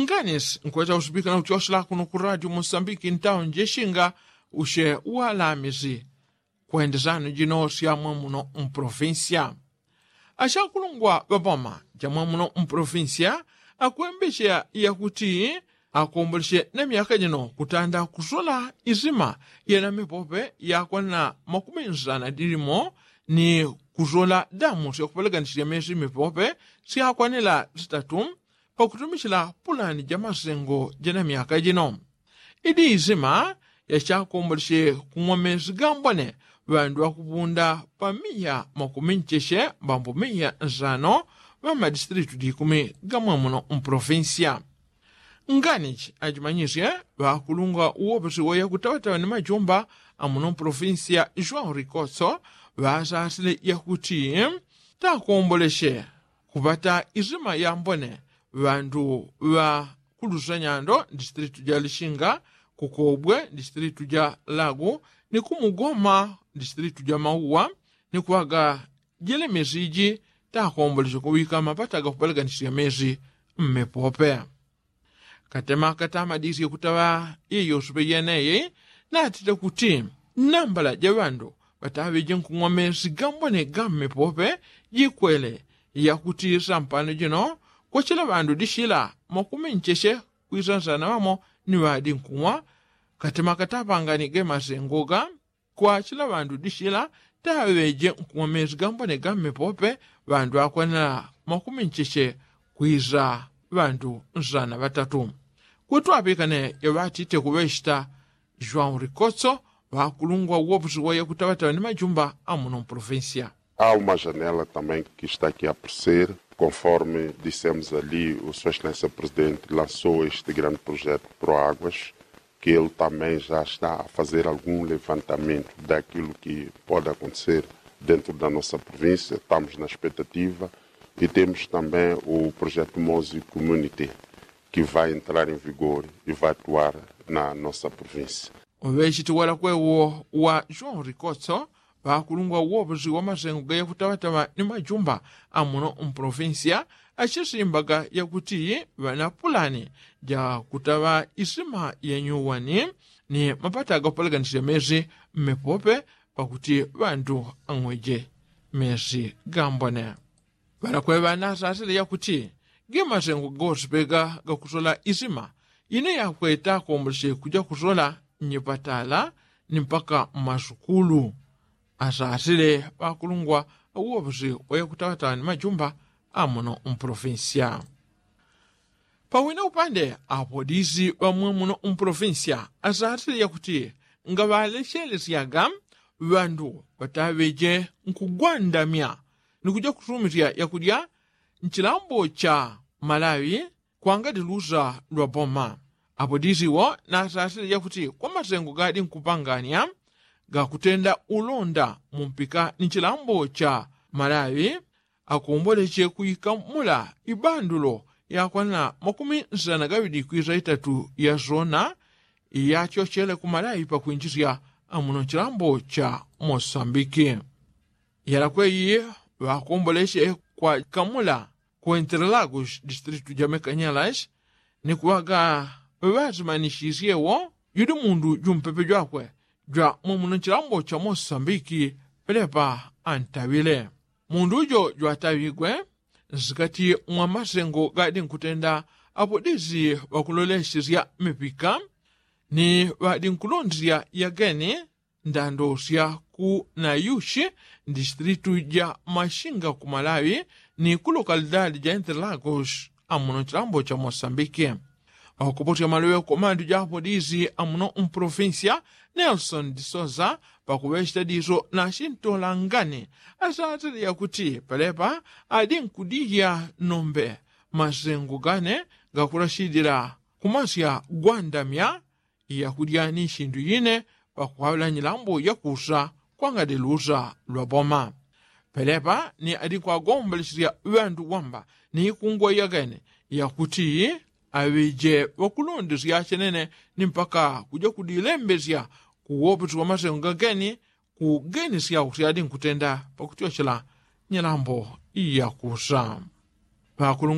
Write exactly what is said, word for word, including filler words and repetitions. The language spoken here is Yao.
Nganisi nkweta usipika na kuchosela kuno ku radio mosambiki ntawo njeshinga ushe walamisi. Kwendesano jino syamwe muno mprovincia asyakulungwa ŵapoma jamwe muno mprovincia akwembesya yakuti akombolesye na myaka jino kutanda kusola isima yena mipope yakwanila makumi nsana dilimo ni kusola damu syakupeleganisya mesi mipope syakwanila sitatu pakutumisila pulani ja masengo jena myaka jino. Idi isima yachakombolesye kung'wa mesi gambone ŵandu ŵakupunda pa miya makumi ncheche mbambu miya nsano ŵamadistilitu dikumi gamwe muno mprovincia. Nganichi ajimanyisye ŵakulungwa uwopesi woya kutawatawa ni majumba amuno mprovincia joão rikotso ŵasasile yakuti takombolesye kupata isima yambone ŵandu ŵa kulusanyando distilitu ja lishinga kukobwe distilitu ja lagu ni kumugoma distilitu ja mauwa ni kuŵaga jelemesi iji takombolesye kuŵika mapata gakupeleganisya mesi mmepope. Katema katamadisye kutaŵa iyosupe yeneye natite kuti nambala ja ŵandu ŵataŵeje nkung'wa mesi gambone gammepope jikwele yakuti sampano jino kwachila ŵandu dishila makumi ncheche kwisansana ŵamo ni ŵadi nkung'wa. Katema katapangani gemasengoga kwachila ŵandu dishila taŵeje nkung'wa mesi gambone gammepope ŵandu akwanila makumi ncheche kwisa ŵandu nsana ŵatatu. Kutwapikane yaŵatite kuŵechita joão rikotso ŵakulungwa uwopusi woya kutaŵataŵa ni majumba amuno mprovincia. Há uma janela também que está aqui a aparecer, conforme dissemos ali, o Sua Excelência Presidente lançou este grande projeto Proáguas, que ele também já está a fazer algum levantamento daquilo que pode acontecer dentro da nossa província. Estamos na expectativa e temos também o projeto Mozi Community, que vai entrar em vigor e vai atuar na nossa província. Ŵechiti walakwewo wa joão rikotso ŵakulungwa uwoposi wa masengo gayakutaŵataŵa ni majumba amuno mprovincia achisimbaga yakuti ŵana pulani ja kutaŵa isima yanyuwani ni mapata gakupeleganisya mesi mmepope pakuti ŵandu ang'weje mesi gambone. Ŵalakweŵa nasasile yakuti gemasengo gosipega gakusola isima ine yakweta akombolesye kuja kusola nyipatala ni mpaka mmasukulu. Asasile ŵakulungwa uwoposi woya kutaŵataŵa ni majumba amuno mprovincia. Pawina upande apolisi ŵamwe muno mprovincia asasile yakuti ngaŵalesyelesyaga ŵandu ŵataŵeje nkugwandamya ni kuja kusumisya yakudya nchilambo cha malawi kwangati lusa lwa boma. Apolisi wo nasasile yakuti kwa masengo gadi nkupanganya gakutenda ulonda mumpika ni chilambo cha malawi akomboleche kuikamula ibandulo yakwana makumi nsana gaŵidi kwisa itatu ya zona iyachochele ku malawi pakwinjisya amuno chilambo cha mosambiki. Yalakweyi ŵakomboleche kwakamula ku interlagos distritu ja mekanyalas ni kuŵaga ŵaŵazimanishisyewo judi mundu jumpepe jwakwe jwa mwamuno chilambo cha mosambiki pelepa antaŵile. Mundu jo jwataŵigwe nsikati mwa masengo gadi nkutenda apodisi ŵakulolesesya mipika ni ŵadi nkulondesya yageni ndando sya ku nayushi mdistritu ja mashinga ku malawi ni ku lokalidadi ja interlagos amuno chilambo cha mosambiki. Ŵakupotya maloŵe komandu ja apolisi amuno mprovinsia nelson disoza pakuŵechita diso na chintolangani asatile yakuti pelepa adi nkudilya nombe masengo gane gakulachidila kumasya gwandamya yakudya ni chindu yine pakuŵaŵila nyilambo yakusa kwangadi lusa lwa boma. Pelepa ni adi nkwagombolesya ŵandu wamba ni ikungwa yagene yakuti aŵeje ŵakulondesya chenene ni mpaka kuja kudilembesya kuwoposwa masengo gageni kugenesya usyadi nkutenda pakutyochela nyilambo yakusa. Ŵakulu